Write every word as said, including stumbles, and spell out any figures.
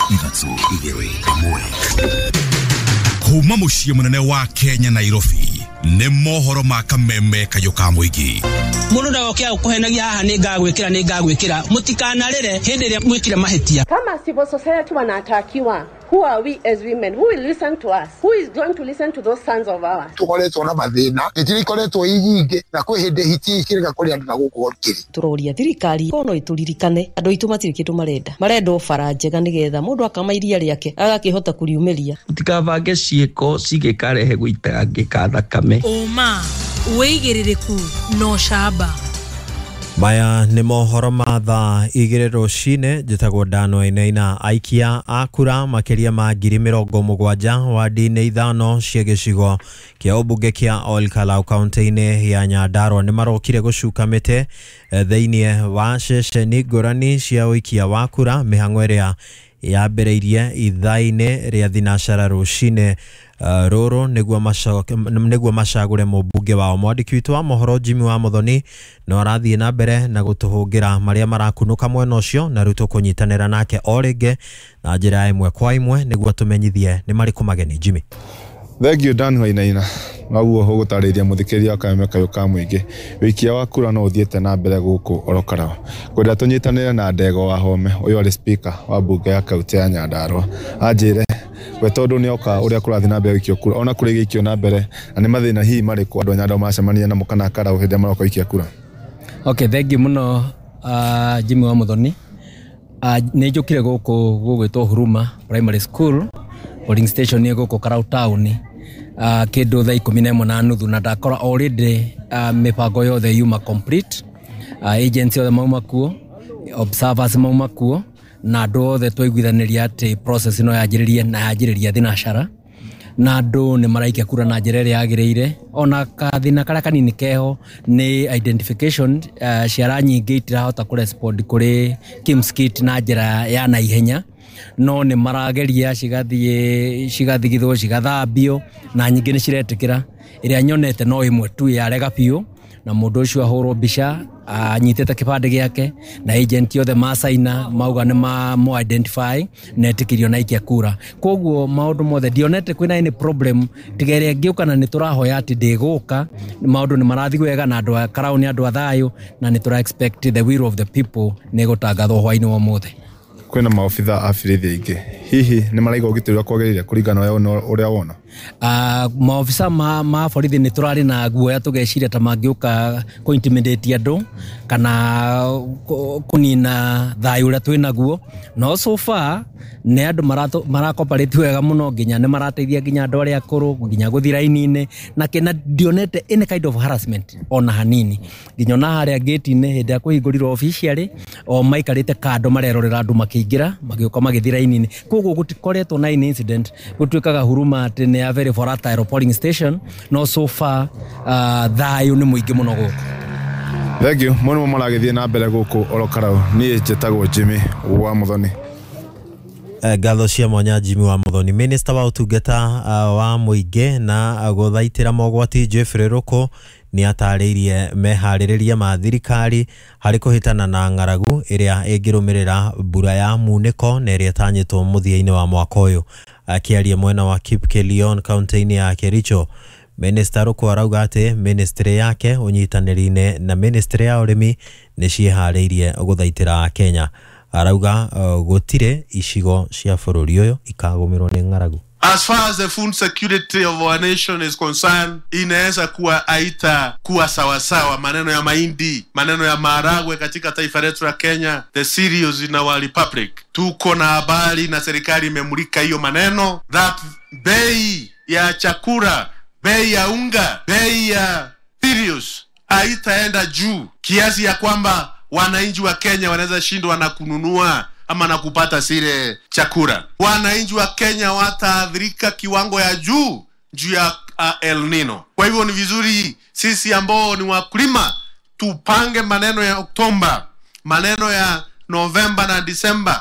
Ithatũ, igĩrĩ, ĩmwe. Kuma mũciĩ mũnene wa Kenya, Nairobi, nĩ mohoro ma kameme kayũ ka mũingĩ. Mũndũ ndagoke gũkũhenagia haha, nĩ ngagwĩkĩra, nĩ ngagwĩkĩra. Mũtikanarĩre hĩndĩ ĩrĩa mwĩkire mahĩtia. Kama civil society wanatakiwa, who are we as women? Who will listen to us? Who is going to listen to those sons of ours? Tukoretwo na mathĩna, hiti ikoretwo i nyingĩ, na kwĩ hĩndĩ hiti ikĩrega kũrĩa andũ na gũkũ kĩrĩ. Tũroria thirikari ko no ĩtũririkane, andũ aitũ matirĩ kĩndũ marenda, marenda o bara njega nĩgetha mũndũ akama iria rĩake agakĩhota kũriumĩria. Mũtikabange ciĩko cingĩkarehe gũitangĩka thakame. Ũma, wĩigĩrĩrĩku na ũcamba. Maya nĩ mohoro ma thaa igĩrĩ rũcinĩ. Njĩtagwo Dano Ainaina. Aikia a kura makĩria ma ngiri mĩrongo mũgwanja wadi-inĩ ithano cia gĩcigo kĩa ũmbunge kĩa Ol Kalou kaunti-inĩ ya Nyandarua nĩ marokire gũcuka mĩtĩ thĩinĩ wa ceceni ngũrani cia ũikia wa kura, mĩhang'o ĩrĩa yambĩrĩirie ithaa-inĩ rĩa thinacara rũcinĩ rũrũ nĩguo macagũre mũmbunge wao. Mwandĩki witũ wa mohoro Jimmy wa Muthoni no arathiĩ na mbere na gũtũhũngĩra marĩa marakunũka mwena ũcio, na rĩu tũkũnyitanĩra nake o rĩngĩ na njĩra ya ĩmwe kwa ĩmwe nĩguo tũmenyithie nĩ marĩkũ mageni. Jimmy. Thank you, Dan Wainaina. Noguo ũgũtarĩria mũthikĩria wa kameme kayũ ka mũingĩ, wĩikia wa kura no ũthiĩte na mbere gũkũ Ol Kalou. Ngwenda tũnyitanĩre na Ndego wa Home, ũyũ arĩ speaker wa mbunge ya kaunti ya Nyandarua, anjĩre we tondũ nĩ oka ũrĩa kũrathiĩ na mbere gũikio kura, ona kũrĩ gĩikio na mbere, na nĩ mathĩna hihi marĩkũ andũ a Nyandarua macemania namo kana Karau hĩndĩ ĩrĩa maroka gũikia kura. Okay, thank you mũno, uh, Jimmy wa Muthoni. uh, nĩ njũkire gũkũ gũgwĩtwo Huruma Primary School polling station ĩ gũkũ Karau town uh, kĩndũ thaa ikũmi na ĩmwe na nuthu, na ndakora already uh, mĩbango yothe yuma complete, uh, agents othe mauma kuo, observers mauma kuo, na andũ othe twaiguithanĩria atĩ process ĩno yanjĩrĩrie na yanjĩrĩria thinacara, na andũ nĩ maraikia kura na njĩra ĩrĩa yagĩrĩire. Ona kathĩna karĩa kanini keho nĩ identification, uh, ciara nyingĩ itirahota kũrespond kũrĩ KIEMS kit na njĩra ya naihenya, no nĩ marageria, cigathiĩ cigathigithwo, cigathambio, na nyingĩ nĩ ciretĩkĩra. Ĩrĩa nyonete no ĩmwe tu yarega biũ, na mũndũ ũcio ahũrwo mbica anyitĩte kĩbandĩ gĩake na agent othe macaina mauga nĩ ma mo identify na etĩkĩrio na aikia kura. Koguo maũndũ mothe ndionete kwĩna any problem tiga ĩrĩa ĩngĩũka, na nĩ tũrahoya atĩ ndĩgũka. Maũndũ nĩ marathiĩ wega, na andũ a Karau nĩ andũ a thayũ, na nĩ tũra expect the will of the people nĩ gũtangathwo hwainĩ wa ũmũthĩ. Kwĩna maobitha a borithi aingĩ, hihi nĩ maraiga ũgitĩri ũrĩa kwagĩrĩire kũringana na ũrĩa wona? Uh, maobitha ma, ma borithi nĩ tũrarĩ na guoya, tũgeciria ta mangĩũka kũ intimidate andũ kana kũnina thayũ ũrĩa twĩ naguo, no so far nĩ andũ maracoperate wega mũno, nginya nĩ marateithia nginya andũ arĩa akũrũ nginya gũthiĩ raini-inĩ na kĩna ndionete any kind of harassment ona hanini. Nginya ona harĩa gate-inĩ hĩndĩ ĩrĩa kũhingũrirwo officially, o maikarĩte kando marerorera andũ makĩingĩra, magĩũka, magĩthiĩ raini-inĩ. Koguo gũtikoretwo na any incident. Gũtuĩkaga Huruma atĩ nĩ a very volatile polling station, no so far uh, thayũ nĩ mũingĩ mũno gũkũ. Thank you mũno. Maragĩthiĩ na mbere gũkũ Ol Kalou. Niĩ njĩtagwo Jimmy wa Muthoni. Ngatho cia mwanya, Jimmy wa Muthoni. Minista wa ũtungata wa mũingĩ na gũthaitĩra mogwati Geoffrey Ruku nĩ atarĩirie meharĩrĩria ma thirikari harĩ kũhĩtana na ng'aragu ĩrĩa ĩngĩrũmĩrĩra mbura ya munĩko na ĩrĩa ĩtanyĩtwo mũthia-inĩ wa mwaka ũyũ. Akĩaria mwena wa Kipkelion kaunti-inĩ ya Kericho, Minista Ruku arauga atĩ ministry yake ũnyitanĩri-inĩ na ministry ya ũrĩmi nĩ ciĩharĩirie gũthaitĩra Akenya. Arauga uh, gũtirĩ icigo cia bũrũri ũyũ ikagũmĩrwo nĩ ng'aragu. As far as the food security of our nation is concerned, inaweza kuwa haita kuwa sawasawa. Maneno ya mahindi, maneno ya maharagwe katika taifa letu la Kenya, the cereals in our republic. Tuko na habari na serikali imemulika hiyo maneno that bei ya chakula, bei ya unga, bei ya cereals haitaenda juu kiasi ya kwamba wananchi wa Kenya wanaweza shindwa na kununua ama na kupata zile chakula. Wananchi wa Kenya wataathirika kiwango ya juu juu ya uh, El Nino. Kwa hivyo ni vizuri sisi ambao ni wakulima tupange maneno ya Oktoba, maneno ya Novemba na Disemba.